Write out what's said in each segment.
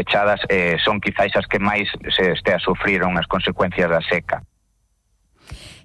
pechadas son quizáis as que máis se estea a sufriron as consecuencias da seca.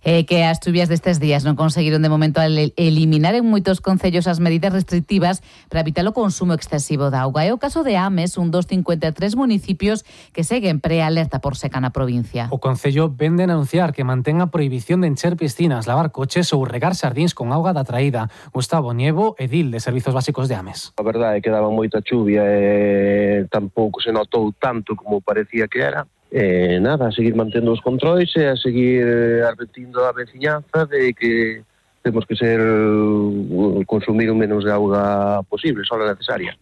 Que as chuvias destes días non conseguiron de momento eliminar en moitos concellos as medidas restrictivas para evitar o consumo excesivo de auga. É o caso de Ames, un dos 53 municipios que seguen prealerta por seca na provincia. O concello vende a anunciar que mantén a prohibición de encher piscinas, lavar coches ou regar xardíns con auga da traída. Gustavo Nievo, edil de Servizos Básicos de Ames. A verdade é que daba moita chuvia e tampouco se notou tanto como parecía que era. Nada, a seguir mantendo os controis e a seguir advertindo a veciñanza de que temos que consumir o menos de auga posible, só a necesaria.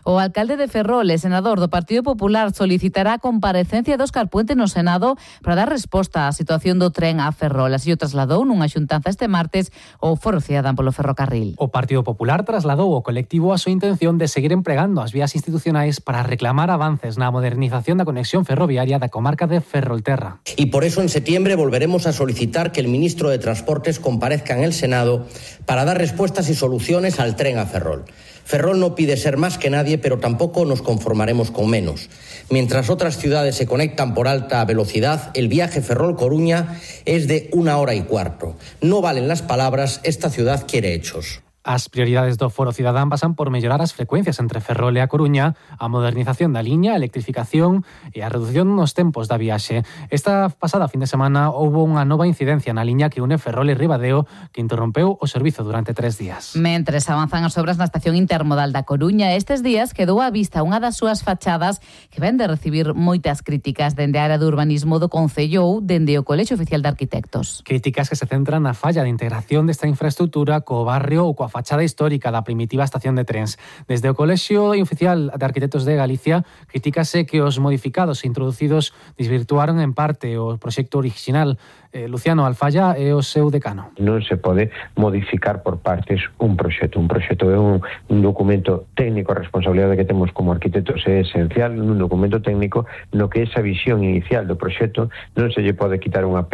O alcalde de Ferrol e senador do Partido Popular solicitará a comparecencia de Óscar Puente no Senado para dar resposta á situación do tren a Ferrol. Así o trasladou nunha xuntanza este martes o Foro Cidadán polo ferrocarril. O Partido Popular trasladou ao colectivo a súa intención de seguir empregando as vías institucionais para reclamar avances na modernización da conexión ferroviaria da comarca de Ferrolterra. Y por eso en septiembre volveremos a solicitar que el ministro de Transportes comparezca en el Senado para dar respuestas y soluciones al tren a Ferrol. Ferrol no pide ser más que nadie, pero tampoco nos conformaremos con menos. Mientras otras ciudades se conectan por alta velocidad, el viaje Ferrol-Coruña es de 1 hora y cuarto. No valen las palabras, esta ciudad quiere hechos. As prioridades do Foro Cidadán pasan por mellorar as frecuencias entre Ferrol e a Coruña, a modernización da liña, a electrificación e a reducción nos tempos da viaxe. Esta pasada fin de semana houbo unha nova incidencia na liña que une Ferrol e Ribadeo que interrompeu o servizo durante 3 días. Mentres avanzan as obras na estación intermodal da Coruña, estes días quedou á vista unha das súas fachadas que ven de recibir moitas críticas dende a área de urbanismo do Concello ou dende o Colexio Oficial de Arquitectos. Críticas que se centran na falla de integración desta infraestructura co barrio ou coa fachada histórica da primitiva estación de trens. Desde o Colexio Oficial de Arquitectos de Galicia critícase que os modificados introducidos desvirtuaron en parte o proxecto original. Luciano Alfaya é o seu decano. Non se pode modificar por partes un proxecto. Un proxecto é un documento técnico, a responsabilidade que temos como arquitectos é esencial nun documento técnico no que esa visión inicial do proxecto non se lle pode quitar unha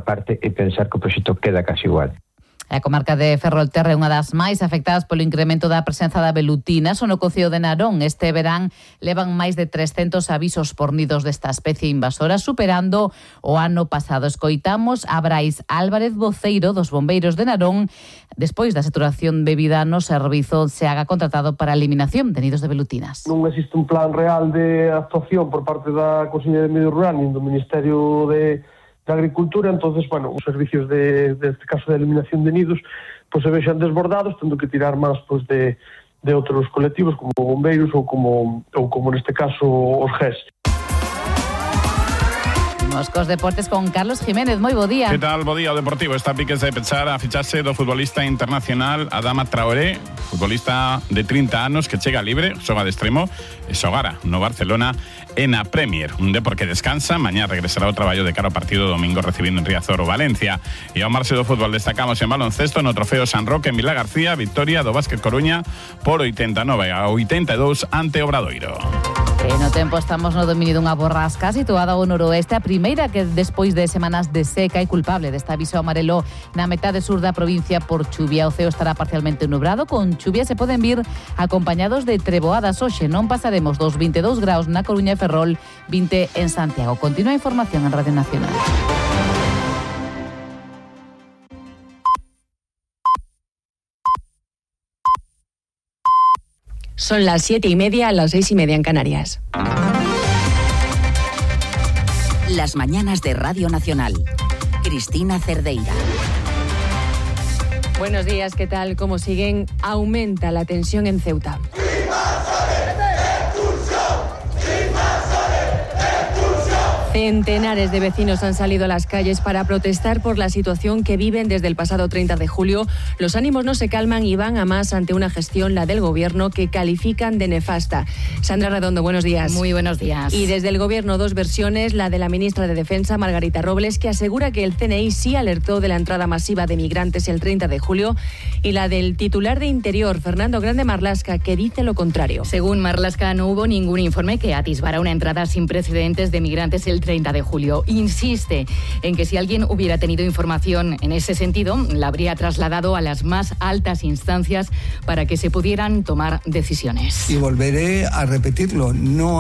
parte e pensar que o proxecto queda casi igual. A comarca de Ferrolterra é unha das máis afectadas polo incremento da presenza da velutina. Son o Concello de Narón. Este verán levan máis de 300 avisos por nidos desta especie invasora, superando o ano pasado. Escoitamos a Brais Álvarez, voceiro dos bombeiros de Narón, despois da saturación debida no servizo se haga contratado para a eliminación de nidos de velutinas. Non existe un plan real de actuación por parte da Consellería de Medio Rural nin do Ministerio de Agricultura, entonces, os servicios deste caso de eliminación de nidos se vexan desbordados, tendo que tirar máis de outros colectivos como bombeiros ou como neste caso os GES. Cos deportes con Carlos Jiménez, moi bo día. Que tal, bo día o Deportivo. Está a piques de pechar a ficharse do futbolista internacional Adama Traoré, futbolista de 30 anos que chega libre, xoga de extremo e xogara no Barcelona e na Premier. Un Depor que descansa, mañá regresará ao traballo de cara ao partido domingo recibindo en Riazor o Valencia. E ao marxe do fútbol destacamos en baloncesto no Trofeo San Roque en Vila García, victoria do Básquet Coruña por 89-82 ante Obradoiro. E no tempo estamos no dominio dunha borrasca situada ao noroeste, a primeira que despois de semanas de seca é culpable deste aviso amarelo na metade sur da provincia por chuvia. O ceo estará parcialmente nublado, con chuvia se poden vir acompañados de treboadas. Hoxe non pasaremos dos 22 graus na Coruña e Ferrol, 20 en Santiago. Continúa a información en Radio Nacional. Son las 7:30, las 6:30 en Canarias. Las mañanas de Radio Nacional. Cristina Cerdeira. Buenos días, ¿qué tal? ¿Cómo siguen? Aumenta la tensión en Ceuta. Centenares de vecinos han salido a las calles para protestar por la situación que viven desde el pasado 30 de julio. Los ánimos no se calman y van a más ante una gestión, la del Gobierno, que califican de nefasta. Sandra Redondo, buenos días. Muy buenos días. Y desde el Gobierno, dos versiones, la de la ministra de Defensa, Margarita Robles, que asegura que el CNI sí alertó de la entrada masiva de migrantes el 30 de julio, y la del titular de Interior, Fernando Grande Marlaska, que dice lo contrario. Según Marlaska, no hubo ningún informe que atisbara una entrada sin precedentes de migrantes el 30 de julio. Insiste en que si alguien hubiera tenido información en ese sentido, la habría trasladado a las más altas instancias para que se pudieran tomar decisiones. Y volveré a repetirlo, no